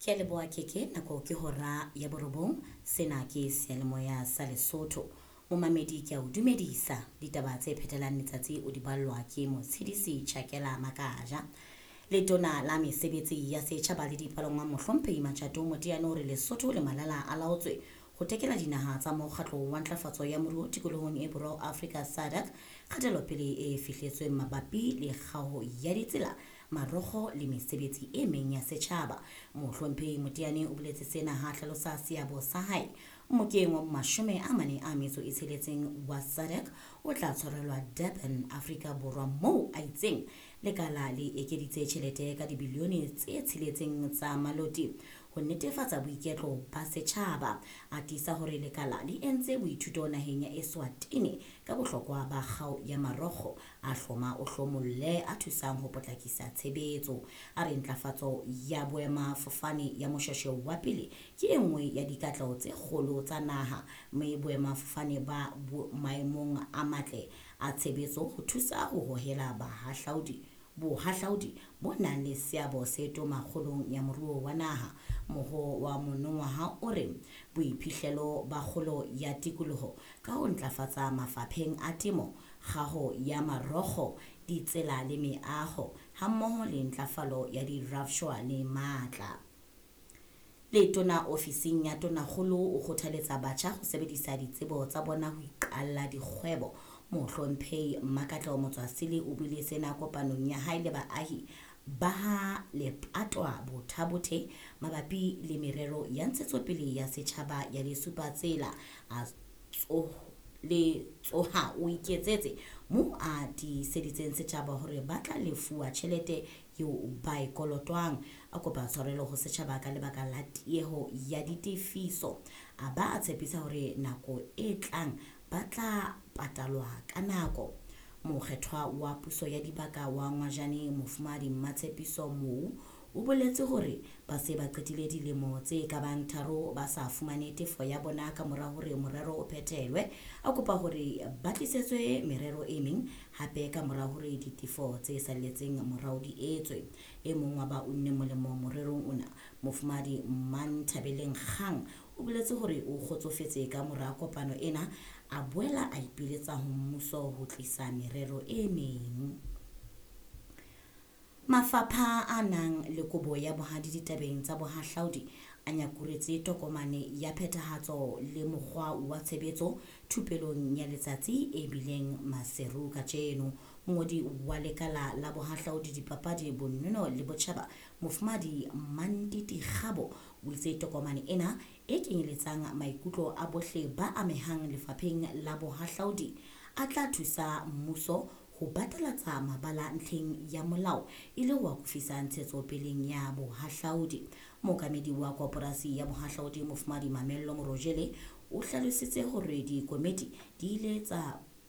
Ke a leboha Keke, nako ke hora ya borobong. Sena ke seyalemoya sa Lesotho. Momamedi ke a o dumedisa. Ditaba tse phethelang letsatsi o di ballwa ke Motshedisi Chakela Makaja. Letona la mesebetsi ya setjhaba le dipalangwang Mohlomphehi Matjato Moteane o re Lesotho le Malala a laotswe ho tekela dinaha tsa mokgatlo wa ntlafatso ya moruo tikolohong e borwa Afrika SADC kgatelopele e fihletsweng mabapi le kgaho ya ditsela, marokgo le mesebetsi e meng ya setjhaba. Mohlomphehi Moteane o boletse sena ha hlalosa seabo sa hae mmokeng wa 46 wa SADC o tla tshwarelwa Durban, Afrika Borwa, moo a itseng lekala le ekeditse tjhelete ka dibilione tse 6 tsa maloti ho netefatsa boiketlo ba setjhaba. A tiisa hore lekala le entse boithuto naheng ya Eswatini ka bohlokwa ba kgao ya marokgo a hloma o hlomolle a thusang ho potlakisa tshebetso. A re ntlafatso ya boemafofane ya Moshweshwe wa pele ke e nngwe ya dikatleho tse kgolo tsa naha, mme boemafofane ba maemong a matle a tshebetso ho thusa ho hohela bohahlaudi bo nang le seabo se toma kgolong ya moruo wa naha. Moho wa monongwaha o re boiphihlelo ba kgolo ya tikoloho ka ho ntlafatsa mafapheng a temo, kgaho ya marokgo, ditsela le meaho, hammoho le ntlafalo ya dirafshwa le matla. Letona ofising ya Tonakgolo o kgothaletsa batjha ho sebedisa ditsebo tsa bona ho iqalla dikgwebo. Mohlomphehi Mmakatleho Motswasele o buile sena kopanong ya hae le baahi ba ha Lepatwa Bothabothe mabapi le merero ya ntshetsopele ya setjhaba ya Lesupatsela. A le tsoha o iketsetse moo a tiiseditseng setjhaba hore ba tla lefuwa tjhelete eo ba e kolotwang. A kopa tshwarelo ho setjhaba ka lebaka la tieho ya ditefiso. A ba a tshepisa hore nako e tlang ba tla patalwa ka nako. Mokgethwa wa puso ya dibaka wa Ngwajane Mofumahadi Mmatshepiso Mou o boletse hore ba se ba qetile dilemo tse ka bang 3 ba sa fumane tefo ya bona ka mora hore morero o phethelwe. A kopa hore ba tlisetswe merero e meng hape ka mora hore ditefo tse salletseng morao di etswe. E mong wa ba unne molemo morerong ona, Mofumahadi Manthabeleng Kgang, o boletse hore o kgotsofetse ka mora kopano ena, a boela a ipiletsa ho mmuso ho tlisa merero e meng. Mafapha a nang le kobo ya bohadi ditabeng tsa bohahlaudi a nyakuretse tokomane ya phethahatso le mokgwa wa tshebetso thupelong ya letsatsi e bileng Maseru kajeno. Mongodi wa lekala la bohahlaudi, dipapadi, bonono le botjhaba, Mofumahadi Mantiti Kgabo, o itse tokomane ena e kenyeletsang maikutlo a bohle ba amehang lefapheng la bohahlaudi a tla thusa mmuso ho batalatsa mabala ntlheng ya molao e le ho akofisa ntshetsopeleng ya bohahlaudi. Mookamedi wa koporasi ya bohahlaudi Mofumahadi Mamello Morojele o hlalositse hore dikomiti di ile tsa